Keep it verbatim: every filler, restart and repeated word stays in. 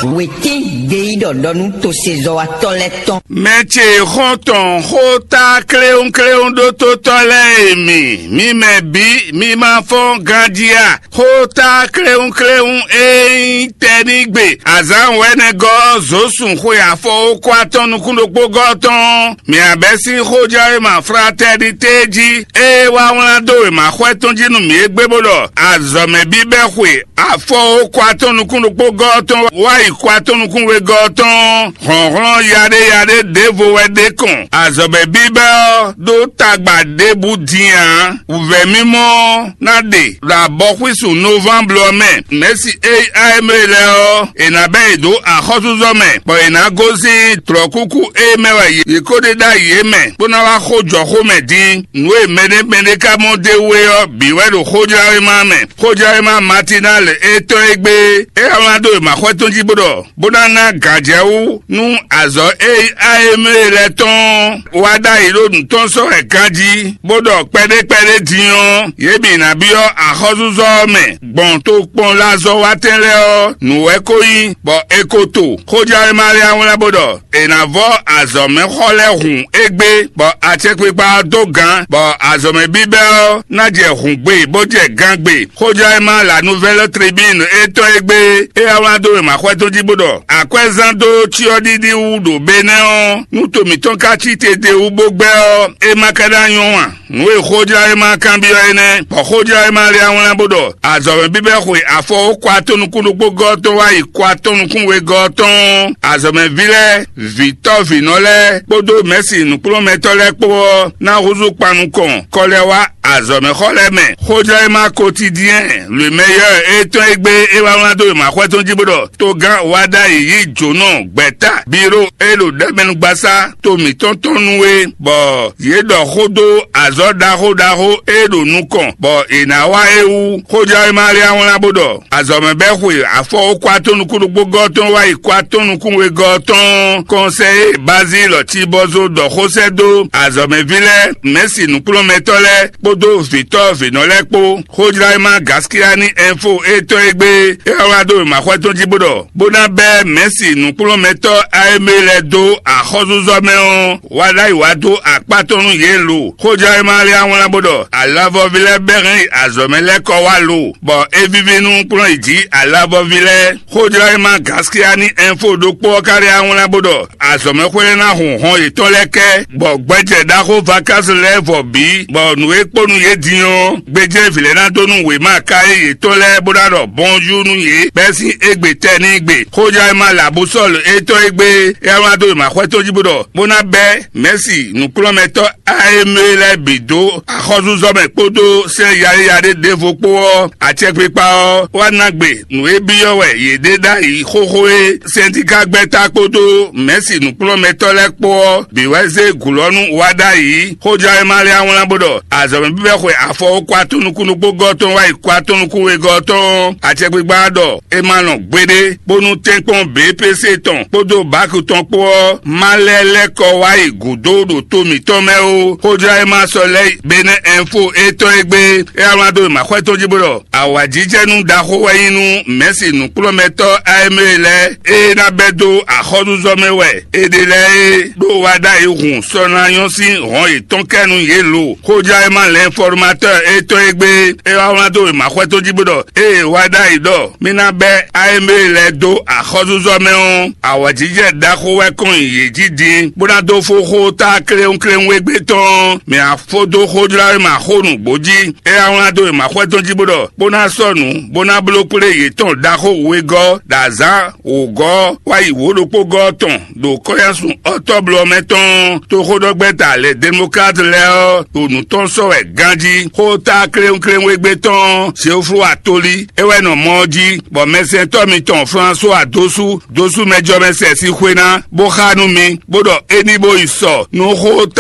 Wětín gbeyíɖɔ ɖɔ nú tosezɔ́watɔ́ lɛ́ɛ tɔn. Mɛ ce xɔ́ntɔn xóta kléwúnkléwún ɖótótɔ́ lɛ́ɛ e mi, mi mɛ bǐ, mi ma fɔ́n ganjí a? Xóta kléwúnkléwún e nyí tɛnígbe azǎn wɛ̌nɛgɔ́ ɔ́ zǒ sun xwe afɔwókó atɔ́ nukún ɖokpó gɔ́ tɔn. Mǐ abɛ́ sín xójɛwéma Fraternité jí, ée wá wlán dó wěmaxwɛ tɔn jí nú mǐ égbé bó ɖɔ azɔ̌mɛ bíbɛ́ xwe afɔwókó atɔ́ nukún ɖokpó gɔ́ tɔn wá yi kó atɔ́ nukún wegɔ́ tɔn. Hlɔ̌nhlɔ́n yaɖé yaɖé ɖěvo wɛ ɖ'é kɔn. Azɔ̌mɛ bíbɛ́ ɔ́ ɖó tagba ɖěbǔ din ǎ. Wǔvɛ́ mímɔ ɔ́ ná ɖe ɖo abɔxwísun novamblu ɔ́ mɛ. Mɛ̌si e nyí A M E lɛ́ɛ ɔ́, è nǎ bɛ́ yě dó axɔ́súzɔ mɛ, bɔ è nǎ gosín tlɔ̌kúkú e mɛ wɛ yě ko ɖe ɖ'ayǐ é mɛ, bó ná wá xó jɔ xó mɛ din. Nǔ e mɛɖé mɛɖé ka mɔ d'é wú é ɔ́ bǐ wɛ ɖo xójlawéma mɛ. Xójlawéma Matinali e tɔn é gbé, é wá wlán dó wěmaxɔ́ tɔn jí bó ɖɔ, bó ná ná gǎnjɛwú nú azɔ̌ e nyí A M E lɛ́ɛ tɔn wá ɖ'ayǐ ɖo nǔ tɔn sɔ́ wɛ ganjí, bó ɖɔ kpɛɖé kpɛɖé din ɔ́, yě bǐ ná byɔ́ axɔ́súzɔ ɔ́ mɛ gbɔn tokpɔnlazɔ́watɛn lɛ́ɛ ɔ́ nǔ wɛ ko nyí, bɔ è ko to. Xójlawéma lɛ́ɛ wá wlán bó ɖɔ, è nǎ vɔ́ azɔ̌mɛxɔ lɛ́ɛ hun égbé, bɔ acɛkpikpa ɔ́ dó gǎn, bɔ azɔ̌mɛ bíbɛ́ ɔ́ ná jɛ hǔngbe bó jɛ gangbe. Xójlawéma La Nouvelle Tribune e tɔn égbé, é wá wlán dó wěmaxɔ́ tɔn jí bó ɖɔ, akwɛ́zán dó cyɔ́ɖiɖi wú ɖo Benɛ́ ɔ́, nú to mǐtɔn ka cí te d'é wú bó gbɛ́ ɔ́, é ma ka ná nyɔ́ a? Nǔ e xójlawéma kanbyɔ́ é nɛ́, bɔ xójlawéma lɛ́ɛ wá wlán bó ɖɔ, azɔ̌mɛ bíbɛ́ xwe afɔwókó atɔ́ nukún ɖokpó gɔ́ tɔn wá yi kó atɔ́ nukún wegɔ́ tɔn. Azɔ̌mɛví lɛ́ɛ, vǐtɔ́ vǐnɔ lɛ́ɛ kpódó mɛ̌si nǔkplɔ́nmɛtɔ́ lɛ́ɛ kpó ɔ́ ná húzú kpan nukɔn kɔ lɛ́ wá azɔ̌mɛxɔ lɛ́ɛ mɛ. Xójlawéma Quotidien Le Meilleur e tɔn égbé é wá wlán dó wěmaxɔ́ tɔn jí bó ɖɔ, togán wá ɖ'ayǐ yí jǒnɔ gbɛ̌ta bíró e ɖo ɖɛmɛnugbasá to mǐtɔn tɔn nu é, bɔ yě ɖɔ xó dó azɔ̌ ɖaxó ɖaxó e ɖo nukɔn, bɔ è nǎ wá é wú. Xójlawéma lɛ́ɛ wá wlán bó ɖɔ, azɔ̌mɛ bɛ́ xwe afɔwókó atɔ́ nukún ɖokpó gɔ́ tɔn wá yi kó atɔ́ nukún wegɔ́ tɔn. Kɔnsɛ́yi Bazílɔ Cibɔzo ɖɔ xó sɛ́ dó azɔ̌mɛví lɛ́ɛ, mɛ̌si nǔkplɔ́nmɛtɔ́ lɛ́ɛ kpódó vǐtɔ́ vǐnɔ lɛ́ɛ kpó. Xójlawéma Gaskiyani Ɛnfo e tɔn égbé, é wá wlán dó wěmaxɔ́ tɔn jí bó ɖɔ, bó ná bɛ́ mɛ̌si nǔkplɔ́nmɛtɔ́ A M E lɛ́ɛ dó axɔ́súzɔ mɛ ɔ́, wá ɖ'ayǐ wá dó akpá tɔn nú yě lo. Xójlawéma lɛ́ɛ wá wlán bó ɖɔ, alavɔví lɛ́ɛ bɛ́ hɛn yi azɔ̌mɛ lɛ́ɛ kɔ wá lo, bɔ é víví nú kplɔ́n yi jǐ alavɔví lɛ́ɛ. Xójlawéma Gaskiyani Ɛnfo ɖokpó ɔ́ ka lɛ́ɛ wá wlán bó ɖɔ, azɔ̌mɛxwé lɛ́ɛ ná hun hɔn yětɔn lɛ́ɛ kɛ, bɔ gbɛjɛ ɖaxó vakási lɛ́ɛ vɔ bǐ, bɔ nǔ e kpó nú yě din ɔ́, gbéjé vǐ lɛ́ɛ ná dó nú wěma káyé yětɔn lɛ́ɛ bó ná ɖɔ bɔnjú nú yě bɛ́ sín égbé tɛnígbe. Xójlawéma Labusɔ́lu e tɔn égbé, é wá wlán dó wěmaxɔ́ tɔn jí bó ɖɔ, bó ná bɛ́ mɛ̌si nǔkplɔ́nmɛtɔ́ A M E lɛ́ɛ bǐ dó axɔ́súzɔ mɛ kpódó sɛ́n yaɖéyaɖé ɖěvo kpó ɔ́, acɛkpikpa ɔ́ wá ná gbe nǔ e byɔ́ wɛ yě ɖe ɖ'ayǐ xóxó é. Sɛntíkagbɛ́ta kpódó mɛ̌si nǔkplɔ́nmɛtɔ́ lɛ́ɛ kpó ɔ́ bǐ wɛ zé gǔlɔ́nú wá ɖ'ayǐ. Xójlawéma lɛ́ɛ wá wlán bó ɖɔ, azɔ̌mɛ bíbɛ́ xwe afɔwókó atɔ́ nukún ɖokpó gɔ́ tɔn wá yi kó atɔ́ nukún wegɔ́ tɔn. Acɛkpikpa ɔ́ ɖɔ, é ma lɔn gbeɖé, bónú tɛ́nkpɔ́n B P C tɔn kpódó bǎk tɔn kpó ɔ́ ma lɛ́ lɛ́ kɔ wá yi gǔdo ɖo to mǐtɔn mɛ ó. Xójlawéma sɔ lɛ́ Benɛ́ Ɛnfo e tɔn égbé, é wá wlán dó wěmaxɔ́ tɔn jí bó ɖɔ, awǎjijɛnú ɖaxó wɛ nyí nú mɛ̌si nǔkplɔ́nmɛtɔ́ A M E lɛ́ɛ e ná bɛ́ dó axɔ́súzɔ mɛ wɛ è ɖe lɛ́ɛ é, ɖó wá ɖ'ayǐ hun sɔ ná nyɔ́ sín hɔn yětɔn kɛ nú yě lo. Xójlawéma L'Informateur e tɔn égbé, é wá wlán dó wěmaxɔ́ tɔn jí bó ɖɔ, ée wá ɖ'ayǐ ɖɔ mì ná bɛ́ A M E lɛ́ɛ dó axɔ́súzɔ mɛ ɔ́, awǎjijɛ ɖaxó wɛ kɔn nyi yě jí din, bó ná dó fó xó ta kléwúnkléwún égbé tɔn. Mǐ á fó dó xójlawéma xó nǔgbó jí. É wá wlán dó wěmaxɔ́ tɔn jí bó ɖɔ, bó ná sɔ́ nǔ, bó ná bló kplé yětɔn ɖaxó wegɔ́ ɖo azǎn wǒgɔ́ wá yi wǒ ɖokpó gɔ́ tɔn ɖo kɔ́yásun ɔ́tɔ́blɔ́ mɛ tɔn toxóɖɔgbɛ́ta lɛ̌ Demlokláti lɛ́ɛ ɔ́ ɖo nǔ tɔn sɔ́ wɛ ganjí. Xó ta kléwúnkléwún égbé tɔn Zeoflu Atoli é wɛ nɔ mɔ ɔ́ jí, bɔ mɛsɛntɔ́ mitɔn Flasuwa Dosu Dosu mɛjɔmɛsɛn sín xwé ná, bó xá nú mi, bó ɖɔ é ní bó yi sɔ nú xó